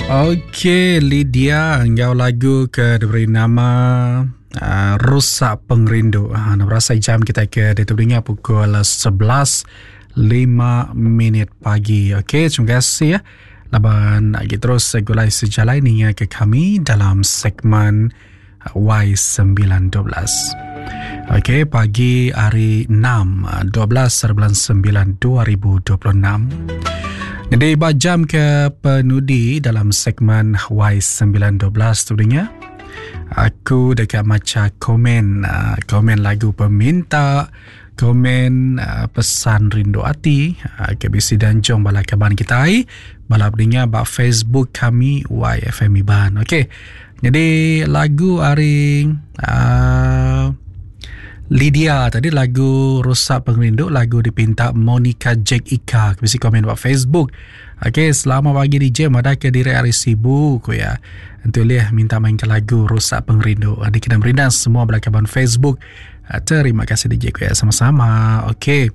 Okey, Lydia enggau lagu ke diberi nama uh, Rusak Pengerindu. Ha, uh, berasa jam kita ke ditulinga pukul 11.05 minit pagi. Okey, terima kasih ya. Laban lagi terus segulai sejalai ninga ke kami dalam segmen Y912. Okey, pagi hari 6, 12 bulan 9 2026. Jadi ba jam ke penudi dalam segmen Y912 tu dengar. Aku dekat maca komen, ah, komen lagu peminta, komen ah, pesan rindu ati, ah, ke bisi danjung bala kaban kita ai, bala pendengar ba Facebook kami YFM Iban. Okey. Jadi lagu hari uh, Lydia tadi lagu Rusak Pengerindu lagu dipinta Monica Jack Ika bisi komen ba Facebook. Okey, selamat pagi DJ madah ke diri hari Sibu ku ya. Entu lih minta main ke lagu Rusak Pengerindu. Di kena merindang semua bala kaban Facebook. Ah, terima kasih DJ ku ya sama-sama. Okey.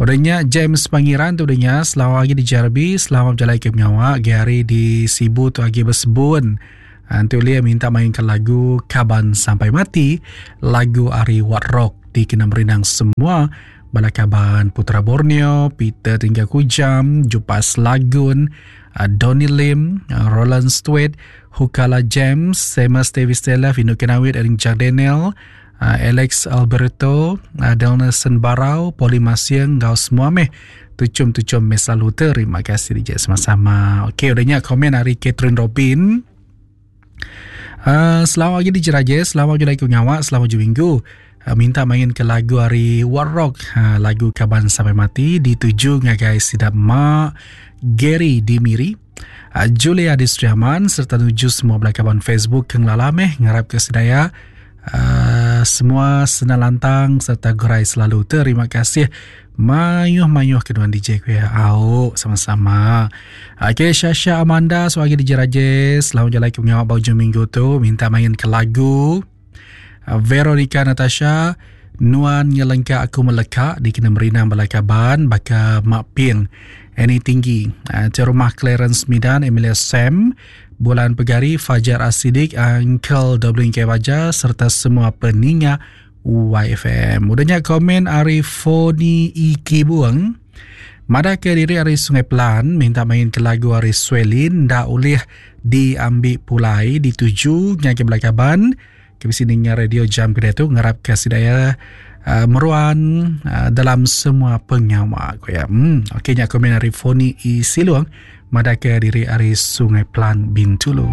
Udah nya James Pangiran tu udah nya selamat pagi di JRB, selamat berjalai ke pengawa hari di Sibu tu agi bersebun. Antu ah, lia minta mainkan lagu Kaban Sampai Mati, lagu Ari Wat Rock di kena merindang semua bala kaban Putra Borneo, Peter Tinggal Kujam, Jupas Lagun, ah, Donny Lim, ah, Roland Stewart, Hukala James, Seamus Davis Taylor, Vino Kenawit, Erin Jack Daniel, uh, Alex Alberto, uh, Delnerson Barau, Poli Masiang, enggau semua meh. Tuchum-tuchum meh selalu terima kasih DJ sama-sama. Okey, udah nya komen hari Catherine Robin. Uh, selamat pagi DJ Raja, selamat pagi lagi nyawa, selamat pagi minggu. Uh, minta main ke lagu hari War Rock, uh, lagu Kaban Sampai Mati dituju ngagai sidap Ma Gary di Miri. Uh, Julia di Sri Aman serta nuju semua belakaban Facebook ke ngelala meh ngarap ke sedaya uh, semua senang lantang serta gerai selalu. Terima kasih mayuh-mayuh kedua DJ ku ya. Au sama-sama. Okey Syasha Amanda sebagai DJ Rajes, selamat jalan ke pengawal bau minggu tu minta main ke lagu uh, Veronica Natasha Nuan ngelengka aku meleka dikena merinang bala kaban baka Mak Ping Annie Tinggi uh, Rumah Clarence Midan Emilia Sam Bulan Pegari Fajar Asidik Uncle Dublin K Baja serta semua peninga YFM. Udahnya komen ari Foni Iki Buang. Madah ke diri ari Sungai Pelan minta main ke lagu ari Swelin nda ulih diambil pulai dituju ngagai bala kaban ke bisi ninga radio jam ke diatu ngarap ke sida uh, meruan uh, dalam semua pengawa ku ya. Hmm okey nya komen ari Foni E Silung madah ke diri ari Sungai Pelan Bintulu.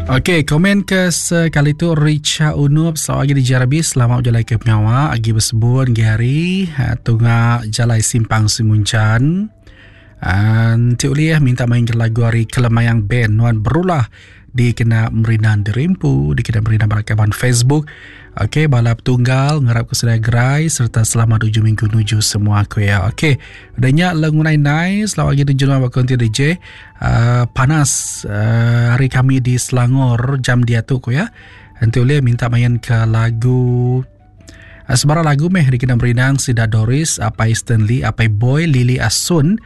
Okey, komen ke sekali tu Richa Unup selamat pagi di JRB, selamat berjalan ke pengawa agi bersebun gi hari ha, tunga jalai simpang Simunjan. Enti ulih minta main ke lagu hari Kelemayang Band Nuan Berulah dikena merinan dirimpu dikena merinan bala kaban Facebook okey bala petunggal ngarap ke sedaya gerai serta selamat ujung minggu nuju semua aku ya okey udah nya lengunai nai selamat pagi tuju nuan ba konti DJ uh, panas uh, hari kami di Selangor jam dia tu ku ya enti ulih minta main ke lagu uh, sebarang lagu meh dikena merinang sida Doris apai Stanley apai Boy Lily Asun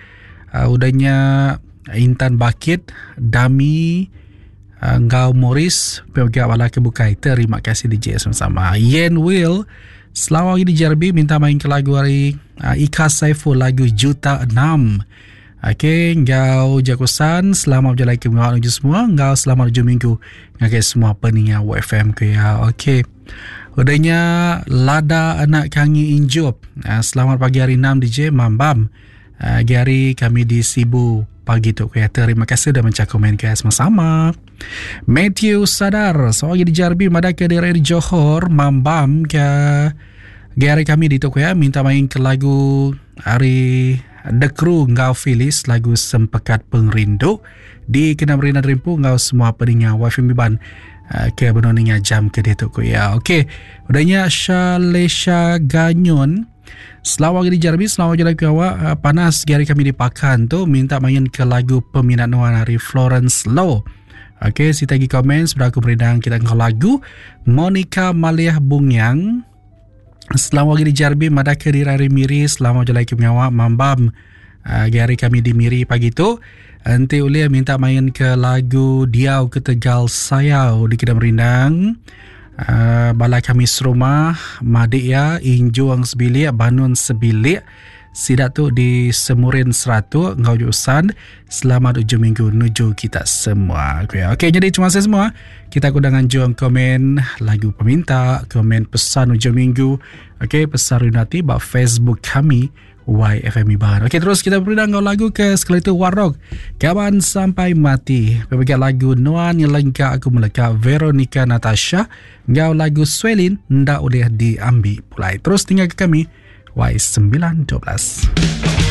uh, udah nya Intan Bakit, Dami uh, enggau Morris pia bala ke bukai. Terima kasih DJ sama-sama. Yen Will selamat pagi DJ RB minta main ke lagu hari uh, Ika Saiful lagu Juta Enam. Okey, enggau Jakusan selamat berjalan ke minggu menuju semua enggau selamat hujung minggu ngagai semua peninga WFM ke ya. Okey. Udahnya Lada anak Kangi Injup. Uh, selamat pagi hari 6 DJ Mambam. Agi hari kami di Sibu pagi tu ya. Terima kasih dah menca komen ke sama-sama. Matthew Sadar, seorang di Jarbi madah ke diri di Johor, mambam ke Agi hari kami di tu ya, minta main ke lagu hari The Crew enggau Phyllis lagu Sempekat Pengerindu di kena Merina Derimpu enggau semua peninga Wifi Miban eh, ke benung ninga jam ke ditu ku ya. Okey, udahnya Shalesha Ganyun Selamat pagi di Jeremy, selamat pagi lagi awak. Ah, panas hari kami di Pakan tu minta main ke lagu peminat nuan hari Florence Low. Okey, si tagi komen sudah aku berindang kita ke lagu Monica Maliah Bungyang. Selamat pagi di JRB madah ke diri hari Miri selamat jalai ke pengawa mambam uh, hari kami di Miri pagi tu. Enti ulih minta main ke lagu Diau Ketegal Sayau di Kedam Rindang. Uh, bala kami serumah, madik ya, Injuang sebilik, Banun sebilik. Sida tu di Semurin Seratuk enggau Jusan. Selamat ujung minggu nuju kita semua. Okey, okay, jadi terima kasih semua. Kita aku dah nganjung komen lagu peminta, komen pesan ujung minggu. Okey, pesan Rinati ba Facebook kami YFM Iban. Okey, terus kita berpindah enggau lagu ke sekali tu Warok. Kawan sampai mati. Pemegang lagu Nuan yang lengkap aku meleka Veronica Natasha enggau lagu Swelin ndak boleh diambil pulai. Terus tinggal ke kami Y912.